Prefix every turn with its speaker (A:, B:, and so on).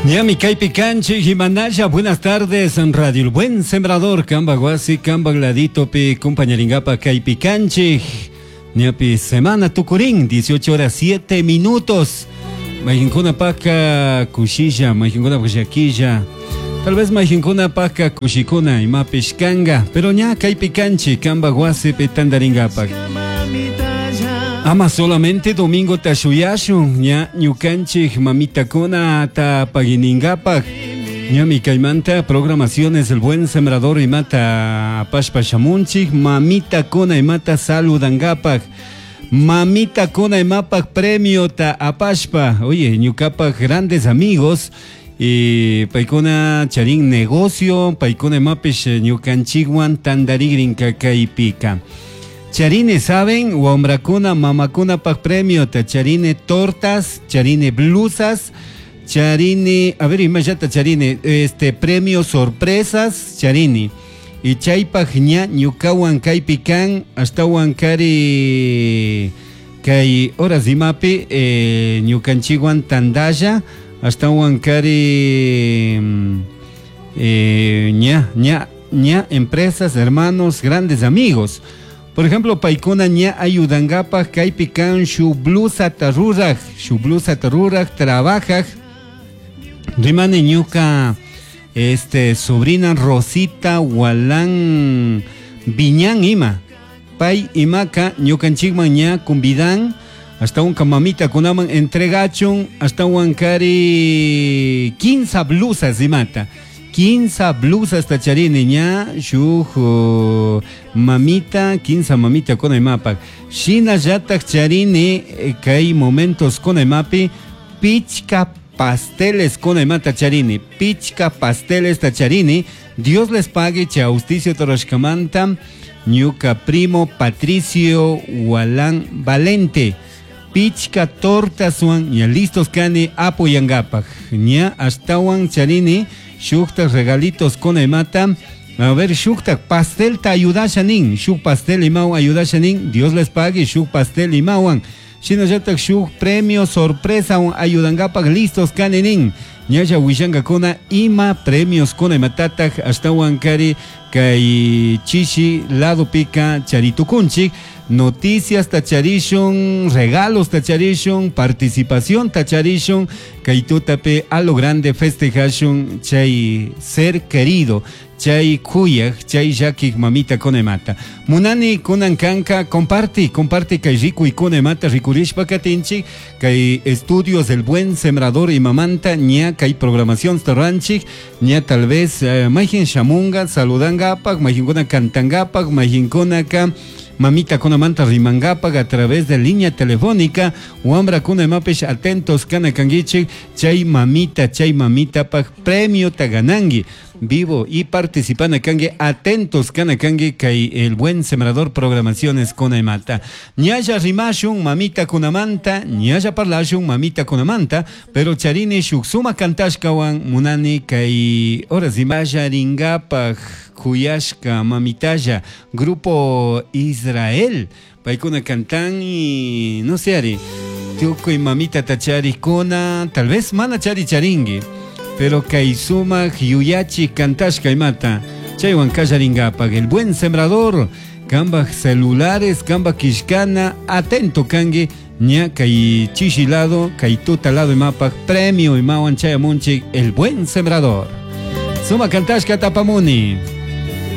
A: Ñami kaypi kanchik imanalla buenas tardes Radio El Buen Sembrador kamba wasi kamba laditopi compañeringapa kaypi kanchik ñapi semana tukurin 18 horas 7 minutos mayqinkunapaqqa kushilla mayqinkunapaq llakilla tal vez mayqinkunapaqqa kushikuna imapish kanqa pero ña kaypi kanchik kamba wasipi tantarinkapak ama solamente domingota shuyashun ña ñukanchik mamitakuna paguininkapak ñami kaymanta programaciones El Buen Sembrador imata apashpa shamunchik mamitakuna imata saludankapak mamitakuna imapak premiota apashpa oye ñukapak grandes amigos y paykuna charin negocio paykuna imapish ñukanchikwan tantarikrinka kaypika Charine, ¿saben? Wambrakuna, mamakunapaq premiota, charine tortas, charine blusas, charine, a ver, imallata charine, este premio sorpresas, charini. Y chaypaq ña ñukawan kaypi kan, ashtawan kari kay horas imapi eh, ñukanchikwan tandalla, ashtawan kari eh, ña, ña, ña empresas, hermanos, grandes amigos. Por ejemplo, paykuna ña ayudankapaq kaypi kan shuk blusata ruraj, shuk blusata ruraj, trabajaj. Rimani ñuka este sobrina Rosita Walán Viñán ima. Pay imaka ñukanchikman ña convidan hasta un mamita kunaman entregachun hasta kari 15 blusas imata. 15 blusas tacharini ña shuk uh, mamita 15 mamita kuna imapak shinallatak charini eh, kay momentos kuna imapi pichka pasteles kuna imata charini pichka pasteles tacharini Dios les pague chay auspicio torashkamanta ñuka primo Patricio Walán Valente pichka tortaswan ña listos kani apoyangapak ña ashtawan charini shuktak regalitos kuna imata a ver shuktak pastelta ayudasha nin shuk pastel imawan ayudasha nin Dios les pague shuk pastel imawan shinallatak shuk premio sorpresa ayudangapak listos kani nin ñalla willankakuna ima premios kuna imatatak ashtawan kari kay chishi ladopika charitukunchik noticias tacharishun, regalos tacharishun, participación tacharishun, kay tutapi a lo grande festejashun chay ser querido, chay kuyaj, chay llakik mamita kunemata. Munani kunan kanka comparti, comparti kay rikuy kunemata rikurishpa katinchik, kay estudios del buen sembrador imamanta, ña kay programación ranchik, ña tal vez eh, mayjin shamunga, saludangapak, mayjinkuna cantangapak, mayjinkunaka mamita kunamanta rimangapak a través de línea telefónica wambra kuna imapish atentos kana kanguichik chay mamita chay mamita pak premio taganangui vivo y participana kangi atentos kana kangi kay el buen sembrador programaciones kuna imata ñalla rimashun mamita kunamanta ñalla parlashun mamita kunamanta pero charini shuk suma kantashkawan munani kay horas imalla ringapaj kuyashka mamitalla grupo Israel paykuna cantan y no sé ari tukuy mamita tacharikuna tal vez mana chari charingui pero kay sumak yuyachi kantashka imata chaywan kallaringapak el buen sembrador kambaj celulares kambaj kishkana atento kangi ña kay chishi lado kay tuta lado imapak premio imawan chayamunchik el buen sembrador suma kantashka tapamuni.